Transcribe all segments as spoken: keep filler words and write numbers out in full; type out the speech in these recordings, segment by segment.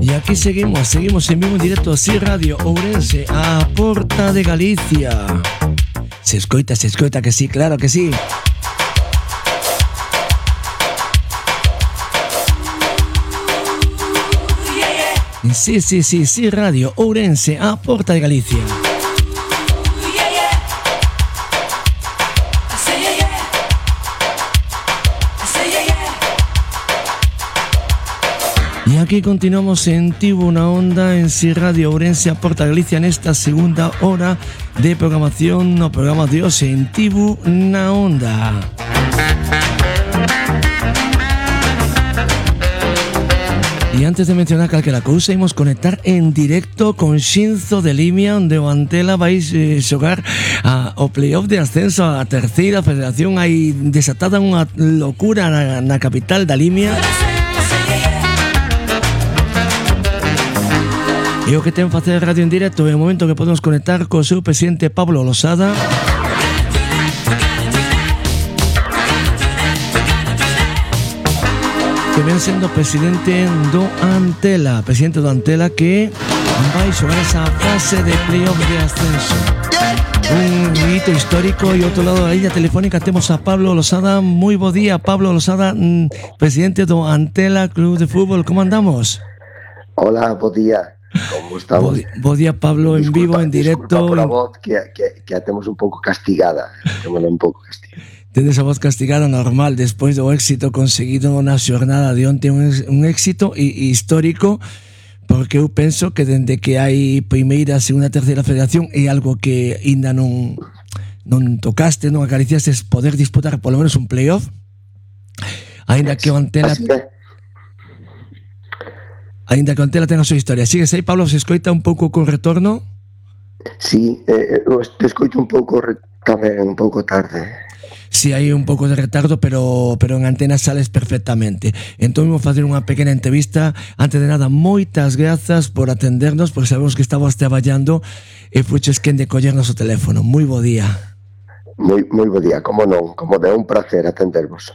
E aquí seguimos, seguimos en vivo en directo así Radio Ourense, a Porta de Galicia. Se escoita, se escoita que sí, claro que sí. Sí, sí, sí, sí, Radio Ourense, a Porta de Galicia. Y aquí continuamos en Tivo una Onda en Si Radio Ourense a Porta Galicia en esta segunda hora de programación no programa de hoxe en Tivo una Onda. E antes de mencionar calquera cousa, imos conectar en directo con Xinzo de Limia, onde o Antela vai eh, xogar a, o playoff de ascenso á terceira federación. Hai desatada unha locura na, na capital da Limia. E o que ten facer radio en directo é o momento que podemos conectar co seu presidente Pablo Losada, que ven sendo presidente do Antela, presidente do Antela, que vai xogar esa fase de playoff de ascenso. Un hito histórico. E ao outro lado da línea telefónica temos a Pablo Losada. Moi bo día, Pablo Losada, presidente do Antela Club de Fútbol. Como andamos? Hola, bo día. Como estamos? Bo día, Pablo, en vivo, en directo. Disculpa por a voz que, que, que a temos un pouco castigada. Témola un pouco castigada. Tedes a voz castigada normal despois do éxito conseguido na xornada de onte, un, un éxito histórico, porque eu penso que dende que hai primeira, segunda, terceira federación é algo que ainda non non tocaste, non acariciaste, poder disputar polo menos un playoff, ainda que o Antela ainda que o Antela ten a súa historia. Sigues aí, Pablo? Se escoita un pouco con retorno? Sí, eh, te escoito un pouco tamén, un pouco tarde. Si sí, hai un pouco de retardo, pero pero en antena sales perfectamente. Entón vamos facer unha pequena entrevista. Antes de nada, moitas grazas por atendernos, porque sabemos que estabas traballando e fuches quen de collernos o teléfono. Moi bo día. Moi moi bo día, como non, como de un placer atendervos.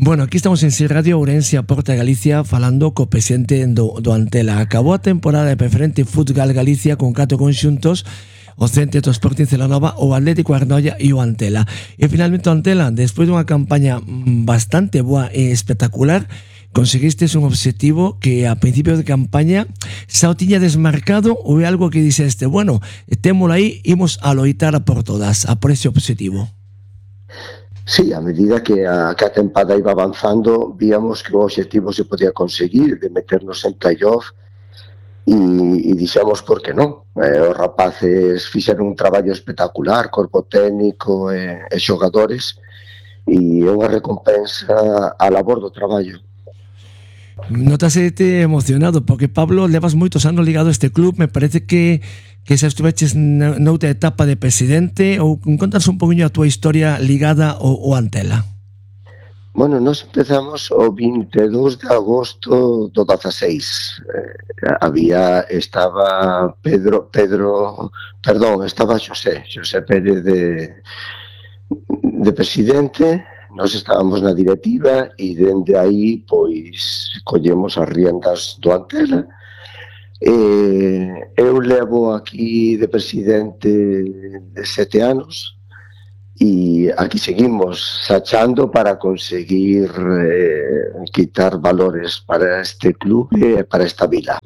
Bueno, aquí estamos en Si Radio Ourense a Porta de Galicia falando co presidente do, do Antela. Acabou a temporada de Preferente Fútbol Galicia con catro conxuntos: o Centro do Sporting Celanova, o Atlético Arnoia e o Antela. E finalmente o Antela, despois dunha campaña bastante boa e espectacular, conseguistes un obxectivo que a principio de campaña xa o tiña desmarcado, ou é algo que dixeste, bueno, témolo aí, imos a loitar a por todas, a por ese obxectivo? Sí, a medida que a, que a tempada iba avanzando, víamos que o obxectivo se podía conseguir, de meternos en playoff, e, e dixemos por que non. Eh, os rapaces fixeron un traballo espectacular, corpo técnico e, e xogadores, e é unha recompensa a labor do traballo. Notásete emocionado, porque Pablo, levas moitos anos ligado a este club. Me parece que que xa estuveches noutra etapa de presidente, ou contas un poquinho a túa historia ligada ao, ao Antela. Bueno, nós empezamos o vinte e dous de agosto do dezaseis. Eh, había, estaba Pedro, Pedro, perdón, estaba Xosé, Xosé Pérez de, de presidente, nós estábamos na directiva e dende aí, pois, collemos as riendas do Antela. Eh, eu levo aquí de presidente de sete anos, e aquí seguimos sachando para conseguir eh, quitar valores para este club e para esta vila.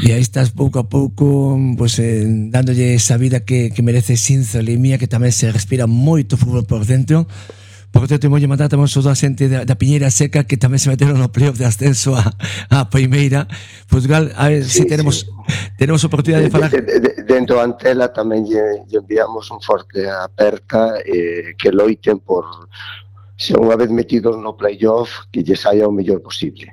E aí estás pouco a pouco pues, eh, dándolle esa vida que, que merece Xinzo de Limia, que tamén se respira moito fútbol por dentro. Por certo, moi mandar tamén toda a xente da, da Piñeira Seca, que tamén se meteron no playoff de ascenso a, a primeira. Portugal, a ver sí, si tenemos sí. tenemos oportunidade de, de falar. De, de, de, dentro da Antela tamén lle, lle enviamos un forte aperta, eh, que loiten por, se unha vez metidos no playoff, que lle saia o mellor posible.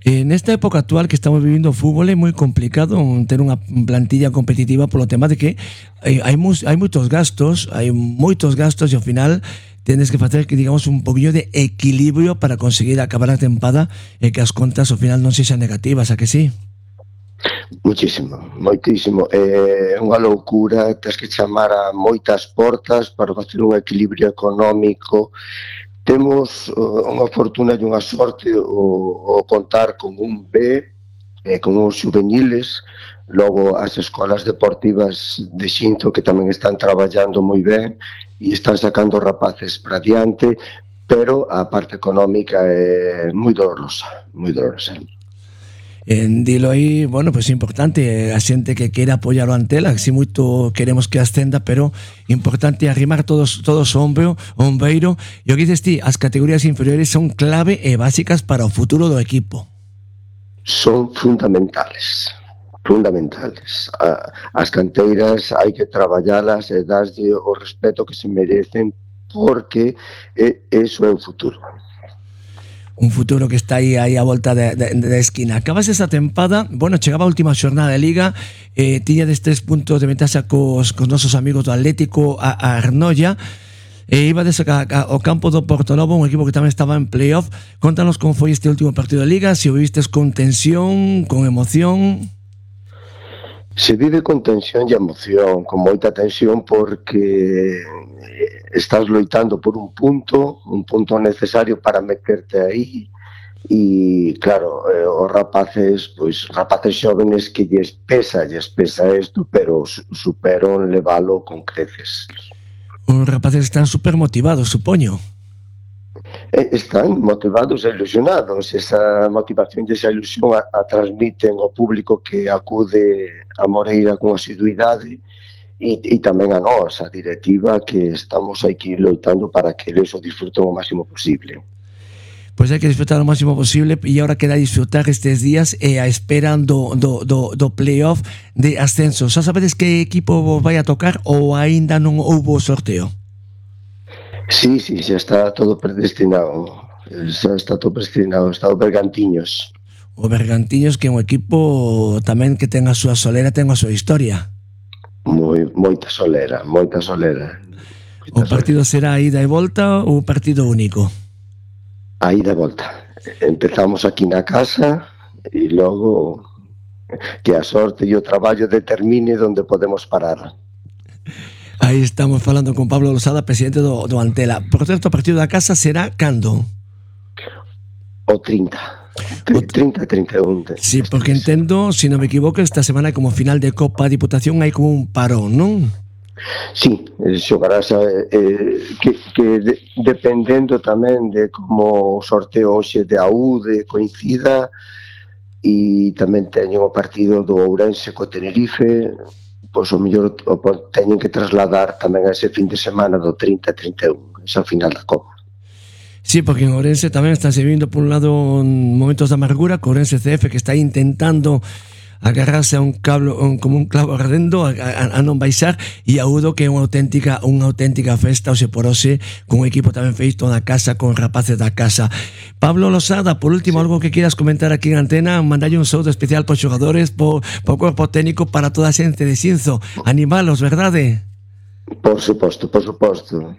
En esta época actual que estamos vivindo o fútbol é moi complicado ter unha plantilla competitiva polo tema de que hai, hai, hai moitos gastos, hai moitos gastos e ao final tienes que facer que digamos un poquillo de equilibrio para conseguir acabar a tempada e que as contas ao final non sexan negativas, a que sí? Muchísimo, moitísimo. É eh, unha loucura, tens que chamar a moitas portas para facer un equilibrio económico. Temos uh, unha fortuna e unha sorte o, o contar con un B eh, con os juveniles, logo as escolas deportivas de Xinzo que tamén están traballando moi ben e están sacando rapaces para diante, pero a parte económica é moi dolorosa, moi dolorosa. En dilo aí, bueno, pois pues importante a xente que queira apoiar o Antela, que si moito queremos que ascenda, pero importante arrimar todos todos o ombro, o ombeiro, e o que dices ti, as categorías inferiores son clave e básicas para o futuro do equipo. Son fundamentales, fundamentales. As canteiras hai que traballalas e darlle o respeto que se merecen, porque eso é o futuro. Un futuro que está aí aí a volta da de, de, de esquina. Acabas esa tempada, bueno, chegaba a última xornada de Liga, eh, tiña des tres puntos de ventaxa cos, cos nosos amigos do Atlético a, a Arnoia, e iba des ao campo do Portonovo, un equipo que tamén estaba en playoff. Contanos como foi este último partido de Liga, se o vivistes con tensión, con emoción. Se vive con tensión e emoción, con moita tensión, porque estás loitando por un punto, un punto necesario para meterte aí, e claro, eh, os rapaces, pois rapaces xóvenes que lles pesa, lles pesa isto, pero superon levalo con creces. Os rapaces están super motivados, supoño. Están motivados e ilusionados. Esa motivación e esa ilusión a, a transmiten ao público que acude a Moreira con asiduidade e, e tamén a nós, a directiva, que estamos aquí loitando para que eles o disfruten o máximo posible. Pois hai que disfrutar o máximo posible, e agora queda disfrutar estes días e a espera do, do, do, do playoff de ascenso. Xa sabedes que equipo vai a tocar ou aínda non houbo sorteo? Sí, sí, xa está todo predestinado. Xa está todo predestinado. Está o Bergantiños. O Bergantiños, que é un equipo tamén que ten a súa solera, ten a súa historia. Moi, moita solera, moita solera. Moita o partido solera. Será ida e volta ou partido único? A ida e volta. Empezamos aquí na casa e logo que a sorte e o traballo determine onde podemos parar. Aí estamos falando con Pablo Losada, presidente do, do Antela. Por certo, o partido da casa será cando? O trinta. trinta e trinta e un. Sí, porque entendo, se non me equivoco, esta semana como final de Copa Diputación hai como un parón, non? Sí, xogarás eh, que, que de, dependendo tamén de como o sorteo hoxe de A U D coincida, e tamén teñen o partido do Ourense co Tenerife, pois o mellor o teñen que trasladar tamén a ese fin de semana do trinta e trinta e un, esa final da Copa. Sí, porque en Ourense tamén están se vindo por un lado momentos de amargura, co Ourense C F que está intentando agarrarse a un cable, un, como un clavo ardendo a, a, a non baixar, e Audo que é unha auténtica unha auténtica festa, hoxe por hoxe, con un equipo tamén feito na casa, con rapaces da casa. Pablo Losada, por último, sí, algo que quieras comentar aquí en Antena, mandalle un saúdo especial para os xogadores, por o corpo técnico, para toda a xente de Xinzo, animalos, verdade? Por suposto, por suposto.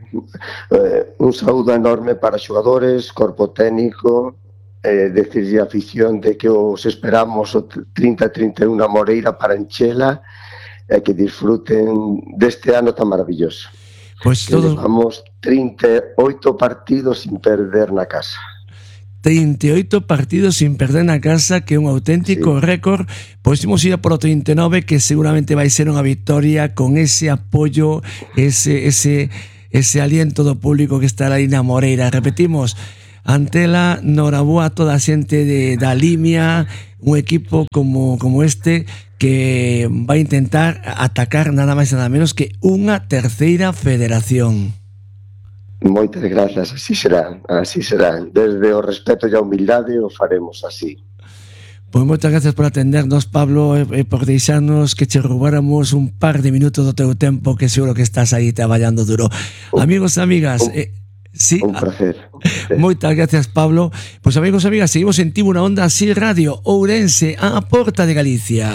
Eh, un saúdo enorme para xogadores, corpo técnico, eh, decirlle a afición de que os esperamos o trinta e trinta e un na Moreira para enchela e que disfruten deste ano tan maravilloso. Pois pues todos... Levamos trinta e oito partidos sin perder na casa. trinta e oito partidos sin perder na casa, que é un auténtico sí. récord. Pois imos ir por o trinta e nove, que seguramente vai ser unha victoria con ese apoio, ese ese ese aliento do público que estará aí na Moreira. Repetimos, Antela, noraboa a toda a xente de, da Limia, un equipo como, como este que vai intentar atacar nada máis e nada menos que unha terceira federación. Moitas grazas, así será, así será. Desde o respeto e a humildade o faremos así. Pois moitas gracias por atendernos, Pablo, e por deixarnos que che roubáramos un par de minutos do teu tempo, que seguro que estás aí traballando duro. Un, Amigos e amigas, un, eh, sí, un placer. Moitas gracias, Pablo. Pois amigos e amigas, seguimos en Tivo na Onda Así Radio, Ourense, a porta de Galicia.